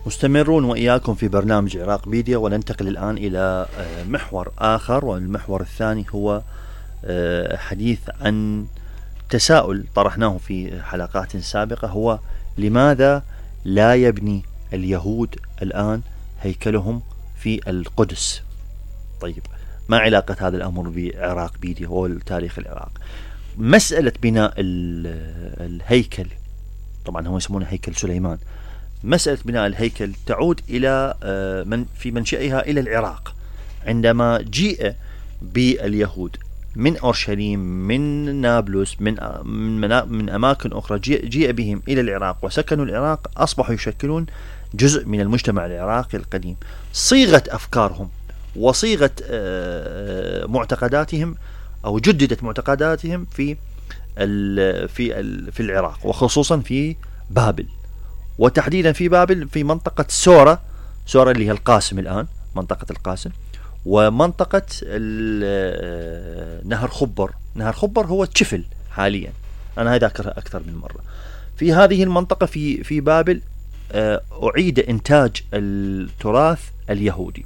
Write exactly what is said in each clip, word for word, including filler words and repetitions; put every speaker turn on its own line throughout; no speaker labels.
مستمرون وإياكم في برنامج عراق بيديا، وننتقل الآن إلى محور آخر، والمحور الثاني هو حديث عن تساؤل طرحناه في حلقات سابقة، هو لماذا لا يبني اليهود الآن هيكلهم في القدس؟ طيب، ما علاقة هذا الأمر بعراق بيديا والتاريخ العراق؟ مسألة بناء الهيكل، طبعا هم يسمونه هيكل سليمان، مسألة بناء الهيكل تعود إلى من في منشأها إلى العراق، عندما جيء باليهود من أورشليم، من نابلس، من من, من أماكن أخرى، جيء, جيء بهم إلى العراق وسكنوا العراق، أصبحوا يشكلون جزء من المجتمع العراقي القديم. صيغة أفكارهم وصيغة معتقداتهم أو جددت معتقداتهم في ال في ال في العراق، وخصوصا في بابل، وتحديدا في بابل في منطقة سورة سورة اللي هي القاسم الآن، منطقة القاسم، ومنطقة نهر خبر. نهر خبر هو تشفل حاليا، أنا هذا أذكرها أكثر من مرة. في هذه المنطقة في في بابل أعيد إنتاج التراث اليهودي،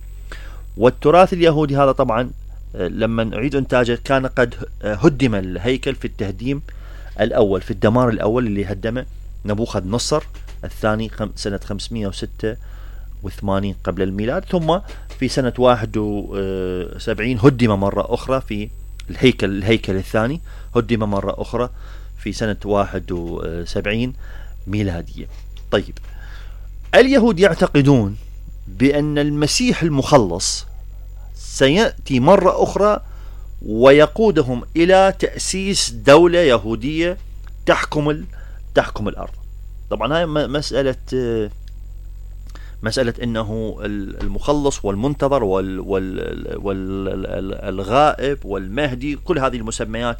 والتراث اليهودي هذا طبعا لما أعيد إنتاجه كان قد هدم الهيكل في التهديم الأول، في الدمار الأول اللي هدمه نبوخذ نصر الثاني سنة خمسمائة وستة وثمانين قبل الميلاد، ثم في سنة واحد وسبعين هدم مرة أخرى في الهيكل الهيكل الثاني هدم مرة أخرى في سنة واحد وسبعين ميلادية. طيب، اليهود يعتقدون بأن المسيح المخلص سيأتي مرة أخرى ويقودهم إلى تأسيس دولة يهودية تحكم تحكم الأرض. طبعا هاي مسألة مسألة إنه المخلص والمنتظر وال وال والغائب والمهدي، كل هذه المسميات،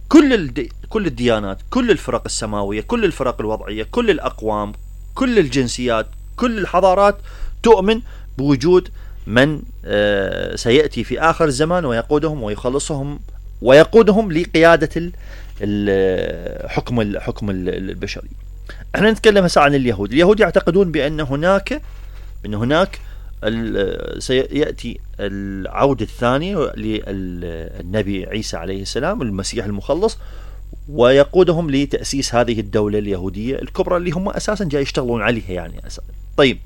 كل الدي كل الديانات، كل الفرق السماوية، كل الفرق الوضعية، كل الأقوام، كل الجنسيات، كل الحضارات تؤمن بوجود من سيأتي في آخر الزمان ويقودهم ويخلصهم ويقودهم لقيادة الحكم الحكم البشري. احنا نتكلم هسه عن اليهود. اليهود يعتقدون بأن هناك بأن هناك سيأتي العودة الثاني للنبي عيسى عليه السلام، المسيح المخلص، ويقودهم لتأسيس هذه الدولة اليهودية الكبرى اللي هم أساسا جاي يشتغلون عليها يعني أساسا. طيب،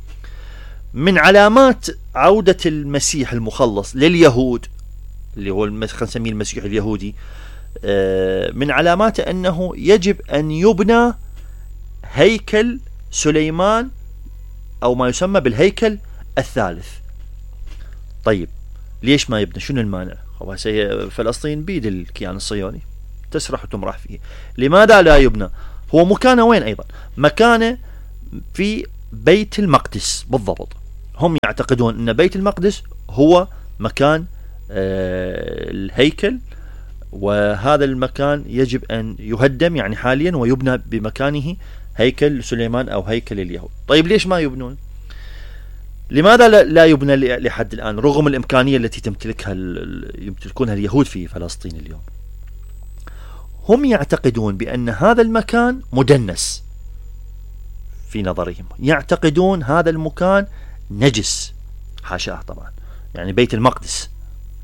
من علامات عودة المسيح المخلص لليهود اللي هو خلينا نسميه المسيح اليهودي، من علاماته أنه يجب أن يبنى هيكل سليمان أو ما يسمى بالهيكل الثالث. طيب، ليش ما يبنى؟ شنو المانع؟ فلسطين بيد الكيان الصهيوني، تسرح وتمرح فيه. لماذا لا يبنى؟ هو مكانه وين أيضا؟ مكانه في بيت المقدس بالضبط. هم يعتقدون أن بيت المقدس هو مكان آه الهيكل، وهذا المكان يجب أن يهدم يعني حاليا ويبنى بمكانه هيكل سليمان أو هيكل اليهود. طيب، ليش ما يبنون؟ لماذا لا يبنى لحد الآن رغم الإمكانية التي تمتلكها يمتلكونها اليهود في فلسطين اليوم؟ هم يعتقدون بأن هذا المكان مدنس في نظرهم، يعتقدون هذا المكان نجس، حاشاه طبعا، يعني بيت المقدس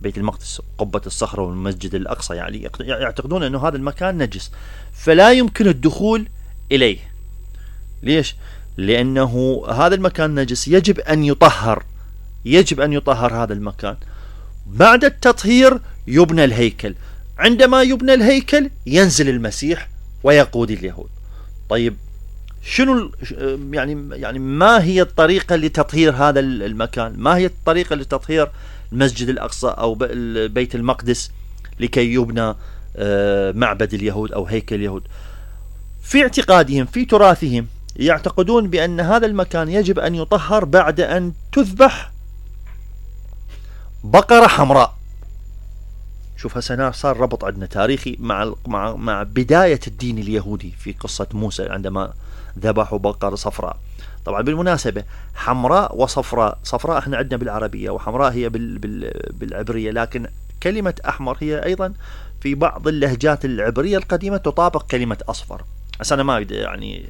بيت المقدس قبة الصخرة والمسجد الأقصى، يعني يعتقدون أنه هذا المكان نجس فلا يمكن الدخول إليه. ليش؟ لأنه هذا المكان نجس، يجب أن يطهر يجب أن يطهر هذا المكان. بعد التطهير يبنى الهيكل، عندما يبنى الهيكل ينزل المسيح ويقود اليهود. طيب، شنو يعني يعني ما هي الطريقة لتطهير هذا المكان؟ ما هي الطريقة لتطهير المسجد الأقصى أو بيت المقدس لكي يبنى معبد اليهود أو هيكل اليهود؟ في اعتقادهم في تراثهم يعتقدون بأن هذا المكان يجب أن يطهر بعد أن تذبح بقرة حمراء. شوف هسه صار ربط عندنا تاريخي مع مع مع بداية الدين اليهودي في قصة موسى عندما ذبحوا بقرة صفراء. طبعا بالمناسبة حمراء وصفراء، صفراء احنا عندنا بالعربية وحمراء هي بال بال بالعبرية، لكن كلمة أحمر هي أيضا في بعض اللهجات العبرية القديمة تطابق كلمة أصفر. بس أنا ما يعني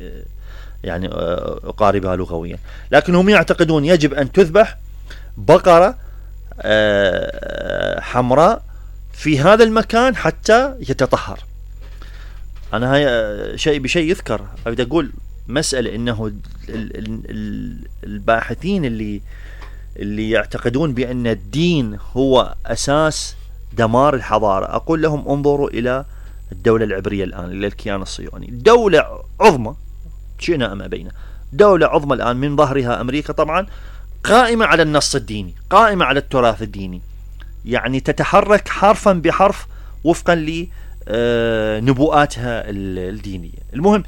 يعني أقاربها لغويا، لكن هم يعتقدون يجب أن تذبح بقرة حمراء في هذا المكان حتى يتطهر. أنا هاي شيء بشيء يذكر، أريد أقول مسألة إنه الباحثين اللي اللي يعتقدون بأن الدين هو أساس دمار الحضارة، أقول لهم انظروا إلى الدولة العبرية الآن، إلى الكيان الصهيوني، دولة عظمى شئنا أم أبينا، دولة عظمى الآن من ظهرها أمريكا طبعا، قائمة على النص الديني، قائمة على التراث الديني، يعني تتحرك حرفا بحرف وفقا لنبوءاتها الدينية. المهم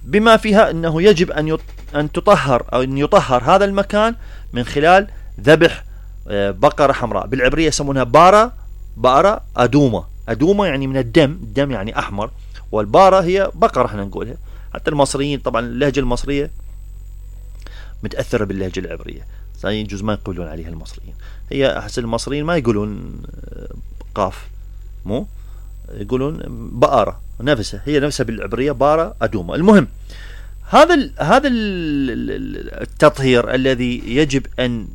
بما فيها أنه يجب أن أن تطهر أو أن يطهر هذا المكان من خلال ذبح بقرة حمراء، بالعبرية يسمونها بارة بارة أدومة. أدومة يعني من الدم، الدم يعني أحمر، والبارة هي بقرة احنا نقولها. حتى المصريين طبعا اللهجة المصرية متأثرة باللهجة العبرية، يجوز ما يقولون عليها المصريين، هي أحسن المصريين ما يقولون قاف، مو يقولون بقرة نفسها، هي نفسها بالعبرية بارة أدومة. المهم هذا ال هذا ال التطهير الذي يجب أن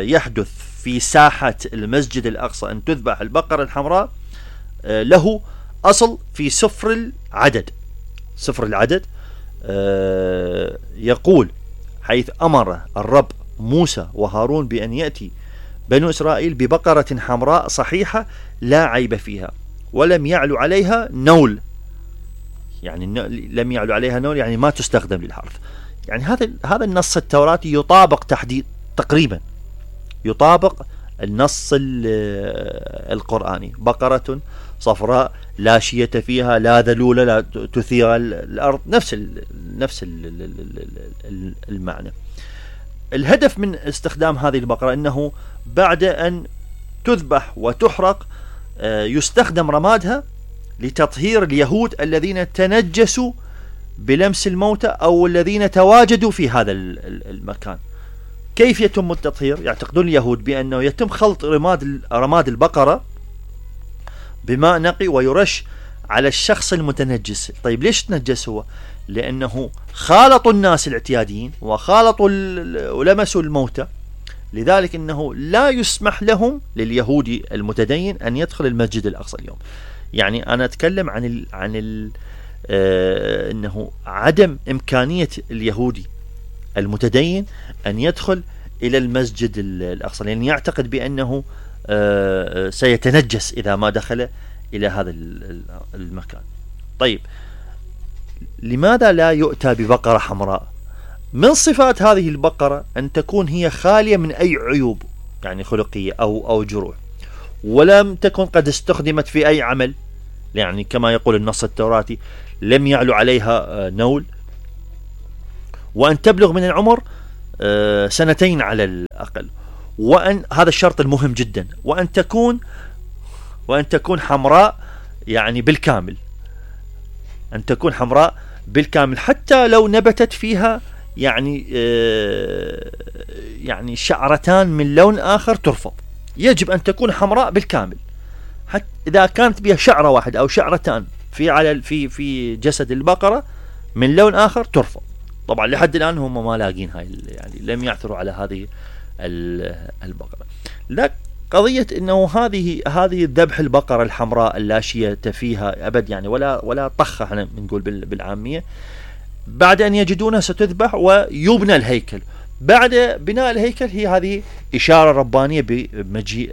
يحدث في ساحة المسجد الأقصى، أن تذبح البقرة الحمراء، له أصل في سفر العدد. سفر العدد يقول حيث أمر الرب موسى وهارون بأن يأتي بنو إسرائيل ببقرة حمراء صحيحة لا عيب فيها ولم يعلو عليها نول، يعني لم يعلو عليها نول يعني ما تستخدم للحرث. يعني هذا هذا النص التوراتي يطابق تحديد تقريبا يطابق النص القرآني، بقرة صفراء لا شية فيها لا ذلولة لا تثير الأرض، نفس ال نفس ال المعنى. الهدف من استخدام هذه البقرة أنه بعد أن تذبح وتحرق يستخدم رمادها لتطهير اليهود الذين تنجسوا بلمس الموتى أو الذين تواجدوا في هذا المكان. كيف يتم التطهير؟ يعتقدون اليهود بأنه يتم خلط رماد رماد البقرة بماء نقي ويرش على الشخص المتنجس. طيب ليش تنجس هو؟ لأنه خالطوا الناس الاعتياديين وخالطوا ولمسوا الموتى، لذلك أنه لا يسمح لهم لليهودي المتدين أن يدخل المسجد الأقصى اليوم. يعني أنا أتكلم عن ال عن ال آه أنه عدم إمكانية اليهودي المتدين أن يدخل إلى المسجد الأقصى، لأن يعتقد بأنه آه سيتنجس إذا ما دخل إلى هذا المكان. طيب لماذا لا يؤتى ببقرة حمراء؟ من صفات هذه البقرة أن تكون هي خالية من أي عيوب يعني خلقية أو أو جروح، ولم تكن قد استخدمت في أي عمل، يعني كما يقول النص التوراتي لم يعلو عليها نول، وأن تبلغ من العمر سنتين على الأقل، وأن هذا الشرط المهم جدا، وأن تكون وأن تكون حمراء يعني بالكامل، أن تكون حمراء بالكامل حتى لو نبتت فيها يعني يعني شعرتان من لون آخر ترفض، يجب أن تكون حمراء بالكامل. حتى إذا كانت بها شعرة واحدة أو شعرتان في على في في جسد البقرة من لون آخر ترفض. طبعا لحد الآن هم ما لاقين هاي، يعني لم يعثروا على هذه البقرة. لا قضية إنه هذه هذه ذبح البقرة الحمراء اللاشية فيها أبد يعني ولا ولا طخة احنا بنقول بالعامية، بعد أن يجدونها ستذبح ويبنى الهيكل. بعد بناء الهيكل هي هذه إشارة ربانية بمجيء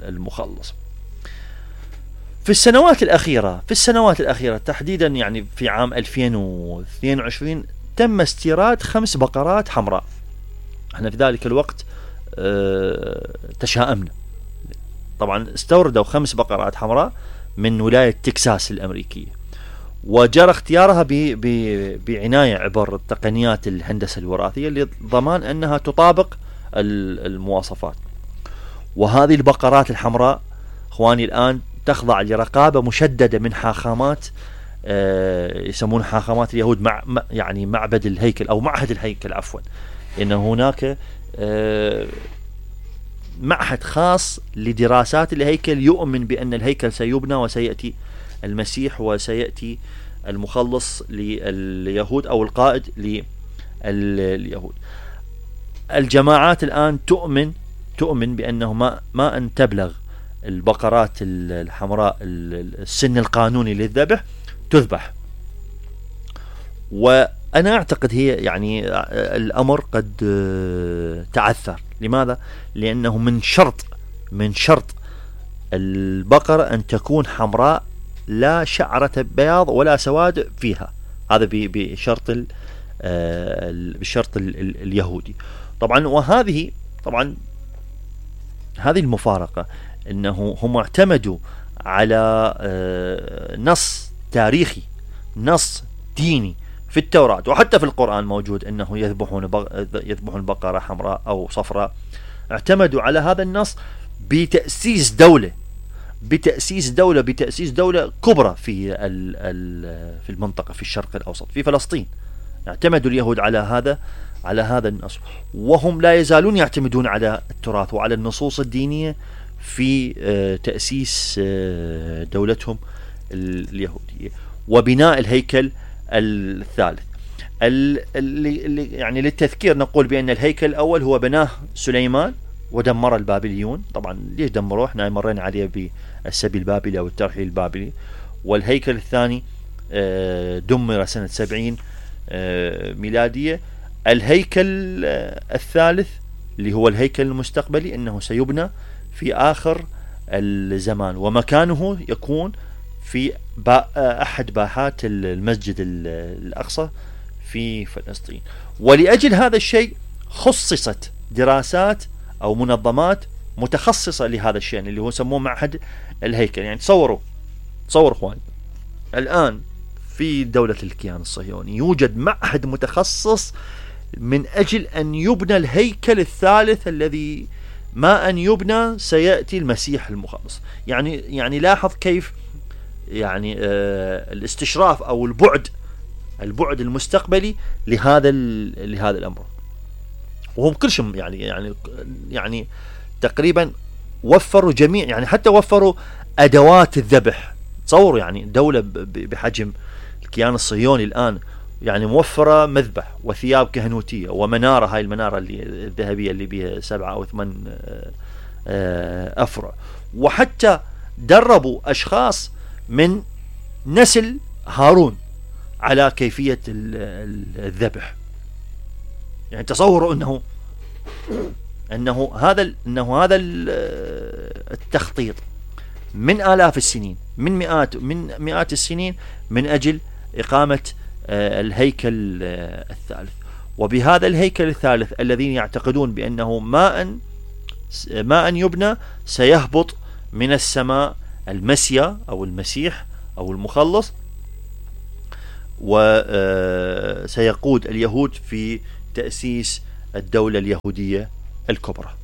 المخلص. في السنوات الأخيرة في السنوات الأخيرة تحديدا يعني في عام ألفين واثنين وعشرين تم استيراد خمس بقرات حمراء. احنا في ذلك الوقت اه تشاءمنا، طبعا استوردوا خمس بقرات حمراء من ولاية تكساس الأمريكية، وجرى اختيارها بعناية عبر تقنيات الهندسة الوراثية لضمان أنها تطابق المواصفات. وهذه البقرات الحمراء اخواني الآن تخضع لرقابة مشددة من حاخامات آه يسمون حاخامات اليهود، مع يعني معبد الهيكل أو معهد الهيكل عفوا، إن هناك آه معهد خاص لدراسات الهيكل يؤمن بأن الهيكل سيبنى وسيأتي المسيح وسيأتي المخلص لليهود أو القائد لليهود. الجماعات الآن تؤمن تؤمن بأنه ما ما أن تبلغ البقرات الحمراء السن القانوني للذبح تذبح. وأنا أعتقد هي يعني الأمر قد تعثر. لماذا؟ لأنه من شرط من شرط البقرة أن تكون حمراء لا شعرة بياض ولا سواد فيها، هذا بشرط بالشرط اليهودي طبعا. وهذه طبعا هذه المفارقة أنه هم اعتمدوا على نص تاريخي، نص ديني في التوراة وحتى في القرآن موجود أنه يذبحون يذبحون بقرة حمراء أو صفراء. اعتمدوا على هذا النص بتأسيس دولة بتأسيس دولة بتأسيس دولة كبرى في في المنطقة في الشرق الأوسط في فلسطين. اعتمدوا اليهود على هذا على هذا النص، وهم لا يزالون يعتمدون على التراث وعلى النصوص الدينية في تأسيس دولتهم اليهودية وبناء الهيكل الثالث. اللي يعني للتذكير نقول بأن الهيكل الأول هو بناه سليمان ودمر البابليون. طبعا ليش دمروه؟ احنا مرينا عليه بالسبي البابلي أو الترحيل البابلي. والهيكل الثاني دمر سنة سبعين ميلادية. الهيكل الثالث اللي هو الهيكل المستقبلي انه سيبنى في آخر الزمان، ومكانه يكون في أحد باحات المسجد الأقصى في فلسطين. ولأجل هذا الشيء خصصت دراسات أو منظمات متخصصة لهذا الشيء اللي هو سموه معهد الهيكل. يعني تصوروا تصوروا اخواني، الآن في دولة الكيان الصهيوني يوجد معهد متخصص من أجل أن يبنى الهيكل الثالث الذي ما أن يبنى سيأتي المسيح المخلص. يعني يعني لاحظ كيف يعني آه الاستشراف أو البعد البعد المستقبلي لهذا لهذا الأمر. وهم كلشم يعني يعني يعني تقريبا وفروا جميع، يعني حتى وفروا أدوات الذبح. تصوروا يعني دولة بحجم الكيان الصهيوني الآن يعني موفرة مذبح وثياب كهنوتية ومنارة، هاي المنارة اللي الذهبية اللي بها سبعة أو ثمان أفرع، وحتى دربوا أشخاص من نسل هارون على كيفية الذبح. يعني تصوروا أنه أنه هذا أنه هذا التخطيط من آلاف السنين، من مئات من مئات السنين، من أجل إقامة الهيكل الثالث. وبهذا الهيكل الثالث الذين يعتقدون بأنه ما أن ما أن يبنى سيهبط من السماء المسيا أو المسيح أو المخلص، وسيقود اليهود في تأسيس الدولة اليهودية الكبرى.